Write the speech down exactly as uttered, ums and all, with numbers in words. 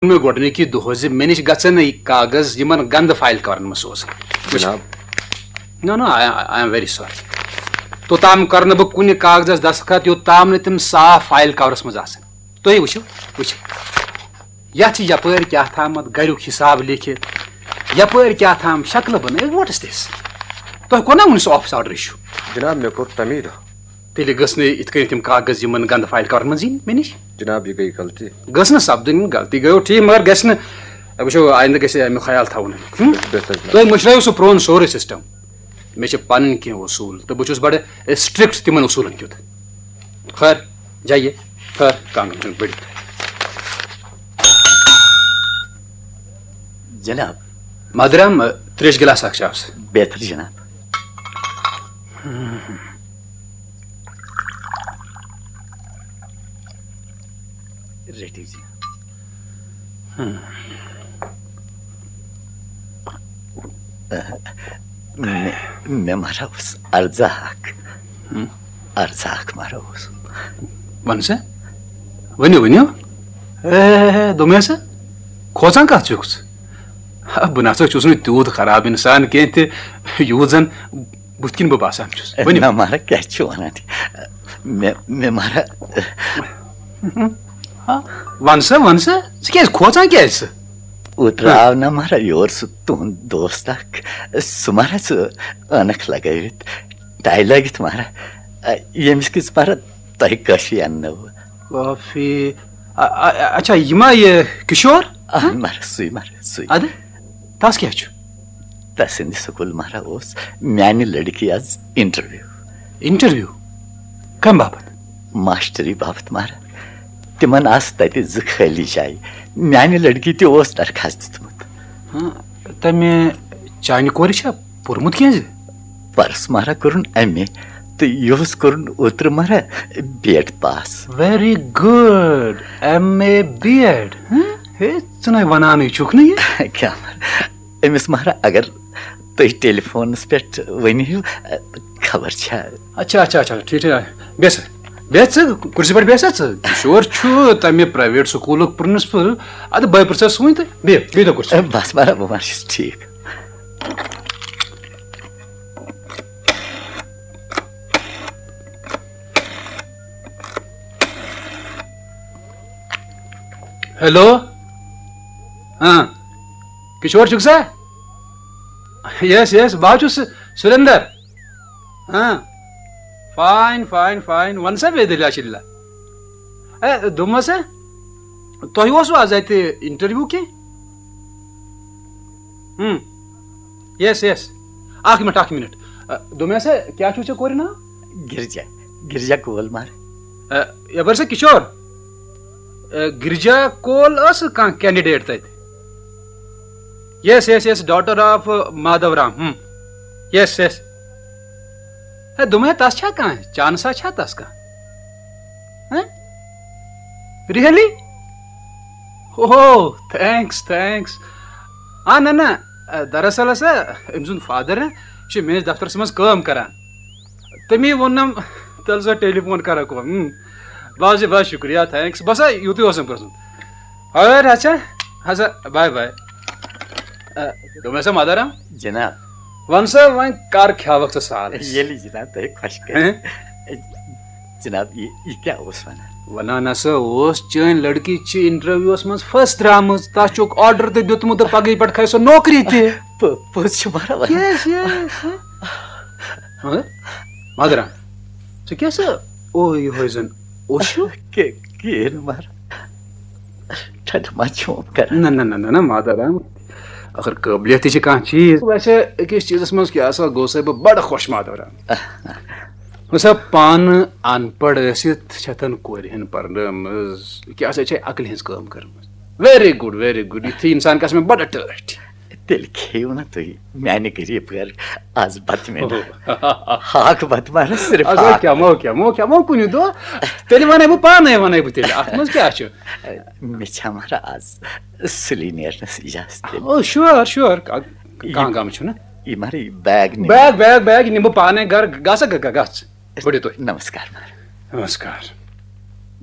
مےٚ گۄڈٕنِکی دۄہ زِ مےٚ نِش گژھن نہٕ یہِ کاغذ یِمن گنٛدٕ فایل کورن منٛز سوزٕنۍ۔ وٕچھ۔ جناب۔ No, no, I, I am very sorry. توٚتام کرٕ نہٕ بہٕ کُنہِ کاغذس دستخط، یوٚتام نہٕ تِم صاف فایل کورس منٛز آسن۔ تُہۍ وٕچھِو، وٕچھِو۔ یتھ چھِ یپٲرۍ کیٛاہ تامتھ گریُک حساب لیکھِتھ، یپٲرۍ کیٛاہ تام شکلہٕ بنٲوِتھ۔ What is this? تۄہہِ کوٚر نا وُنہِ سُہ office order issue؟ جناب، مےٚ کوٚر تَمی دۄہ۔ تیٚلہِ گٔژھ نہٕ یِتھ کٔنۍ تِم کاغذ یِمن گنٛدٕ فایل کورن منٛز یِنۍ مےٚ نِش۔ جناب، یہِ گٔے غلطی۔ گٔژھ نہٕ سپدٕنۍ، غلطی گٔیو ٹھیٖک، مگر گژھِ نہٕ، وٕچھو، آیندٕ گژھِ اَمیُک خیال تھاوُن۔ ہُم؟ بہتر جناب۔ تُہۍ مٔشرٲیِو سُہ پرون سورُے system۔ مےٚ چھِ پنٕنۍ کینٛہہ اصوٗل تہٕ بہٕ چھُس بڑٕ strict تِمن اصوٗلن کیُتھ۔ خٲر، جایہِ، خٲر، کانٛہہ چھُنہٕ بٔڑِتھ۔ جناب۔ مادرام، تریش گلاس اکھ چاو سا۔ بہتر جناب۔ رٔٹِو جناب۔ مےٚ، مےٚ مہرا اوس عرضہ اکھ۔ ہم۔ عرضہ اکھ مہرا اوس۔ وَن سا، ؤنِو، ؤنِو۔ اے، دوٚپمَے سا، کھوژان کَتھ چھُکھ ژٕ؟ ہا، بہٕ نہ سا چھُس نہٕ تیوٗت خراب اِنسان کینٛہہ تہِ، یوٗت زَن بُتھِ کِنۍ بہٕ باسان چھُس۔ ؤنِو۔ نہ مہرا، کیٛاہ چھُ وَنان؟ مےٚ، مےٚ مہرا۔ ہا، وَن سا، وَن سا، ژٕ کیٛازِ کھوژان کیٛازِ ژٕ؟ اوترٕ ہا۔ آو نہ مہرا یور سُہ تُہُنٛد دوست اکھ، سُہ مہرا سُہ عٲنکھ لگٲوِتھ، ٹاے لٲگِتھ مہرا، ییٚمِس کِژھ مہرا تۄہہِ کٲفی اَننٲوٕ۔ کافی۔ اَ-، اَ-، اَ-، اچھا، یہِ ما یہِ کِشور؟ اَہَن مہرا، سُے مہرا، سُے۔ اَدٕ، تَس کیٛاہ چھُ؟ تَسٕنٛدِ سکوٗل مہرا اوس میٛانہِ لڑکی آز انٹرویو۔ انٹرویو؟ کَمہِ باپتھ؟ ماسٹری باپتھ مہرا۔ تِمن آسہٕ تَتہِ زٕ خٲلی جایہِ۔ میٛانہِ لڑکی تہِ اوس درخاست دیُتمُت۔ ہاں، تَمہِ چانہِ کورِ چھا پوٚرمُت کینٛہہ زِ؟ پرس مہرا کوٚرُن ایم اے تہٕ یِہُس کوٚرُن اوترٕ مہرا B Ed pass. Very good, M A B Ed. ہاں؟ ہے، ژٕ نَے وَنانٕے چھُکھ نہٕ یہِ۔ کیٛاہ مہرا؟ أمِس مہرا اگر تُہۍ ٹیلی فونس پٮ۪ٹھ ؤنِو، خبر چھا؟ اچھا، اچھا، اچھا، ٹھیٖک، ٹھیٖک۔ بیٚہہ سا، بیٚہہ ژٕ، کُرسی پٮ۪ٹھ بیٚہہ سا ژٕ۔ کِشور چھُ تَمہِ پرایویٹ سکوٗلُک پرنسپل۔ اَدٕ بہٕ پرٛژھس وۄنۍ تہٕ بیٚہہ، بیٚہہ تو کُرسی۔ بس مہرا، بہٕ ما چھُس ٹھیٖک۔ ہیلو۔ ہاں۔ کِشور چھُکھ سا؟ یس، یس، بہٕ حظ چھُس سُریندر۔ ہاں۔ Fine, fine, fine. وَن سا بیٚیہِ دٔلیٖلہ شٔلیٖلہ۔ اے، دوٚپمَس ہا، تۄہہِ اوسوٕ آز اَتہِ انٹرویو کینٛہہ؟ ہم۔ یس، یس۔ اکھ منٹ، اکھ منٹ۔ اے، دوٚپمَس ہا، کیٛاہ چھُو ژےٚ کورِ ناو؟ گِرجا۔ گِرجا کول مہر۔ اے، یپٲرۍ سا کِشور۔ اے، گِرجا کول ٲس کانٛہہ کینڈیڈیٹ تَتہِ؟ یس، یس، یس، daughter of مادھو رام۔ ہم۔ یس، یس۔ ہے، دوٚپمَے، تَس چھا کانٛہہ چانسا چھا تَس کانٛہہ؟ ہہ؟ Really؟ اوہ، thanks، thanks۔ آ، نہ، نہ، دراصل ہسا أمۍ سُنٛد فادر چھُ میٲنِس دفترس منٛز کٲم کران۔ تٔمی ووٚننم، تیٚلہِ سا ٹیلی فون کرکھ۔ ہم۔ بس جی، بس، شُکریہ، thanks۔ بس ہا، یُتُے اوسُم پرٛژھُن۔ ہٲر، اچھا، اچھا، bye bye۔ آ، دوٚپمَے سا مادارام؟ جناب۔ وَن سا، وۄنۍ کر کھیاوکھ ژٕ سالس؟ ییٚلہِ جناب تۄہہِ خۄش کرِ۔ ہیں؟ جناب، یہِ، یہِ کیٛاہ اوس وَنان؟ وَنان ہسا اوس، چٲنۍ لڑکی چھِ انٹرویوس منٛز first درٛامٕژ، تَس چھُکھ order تہِ دیُتمُت تہٕ پگہٕے پٮ۪ٹھ کھسہِ سۄ نوکری تہِ۔ پو-، پوٚز چھُ مہرا وَنان۔ Yes, yes، ہہ؟ ہہ؟ مادارام، ژٕ کیٛاہ سا، او، یِہوٚے زَن اوس چھُ؟ کہ-، کِہیٖنۍ مہرا۔ ٹھٹہٕ ما چھُم کران؟ نہ، نہ، نہ، نہ، نہ، مادارام۔ اگر قٲبلیت تہِ چھِ کانٛہہ چیٖز، ویسے أکِس چیٖزس منٛز کیٛاہ سا گوٚو سا بہٕ بڑٕ خۄش، مادارام۔ وۄنۍ سا پانہٕ اَن پڑھ ٲسِتھ چھَتن کورِ ہن پرنٲومٕژ، کیٛاہ سا چھے عقلہِ ہٕنٛز کٲم کٔرمٕژ۔ Very good, very good۔ یِتھُے اِنسان گژھِ مےٚ بڑٕ ٹٲٹھۍ۔ تیٚلہِ کھیٚیِو نہ تُہۍ میانہِ غریٖب گرٕ آز بتہٕ مےٚ۔ ہاکھ بتہٕ مہرا، صرف اگر ہاکھ۔ کھٮ۪مو، کھٮ۪مو، کھٮ۪مو کُنہِ دۄہ۔ تیٚلہِ وَنَے بہٕ پانَے، وَنَے بہٕ تیٚلہِ۔ اَتھ منٛز کیٛاہ چھُ؟ مےٚ چھا مہرا آز سُلی نیرنَس اِجازت تیٚلہِ؟ او، sure، sure۔ کا-، کانٛہہ غم چھُنہٕ۔ یہِ مہرا یہِ بیگ نِمہٕ۔ بیگ، بیگ، بیگ، یہِ نِمہٕ بہٕ پانَے گرٕ۔ گژھ، گژھ، گژھ۔ بٔڑِو تُہۍ۔ نمسکار مہرا۔ نمسکار۔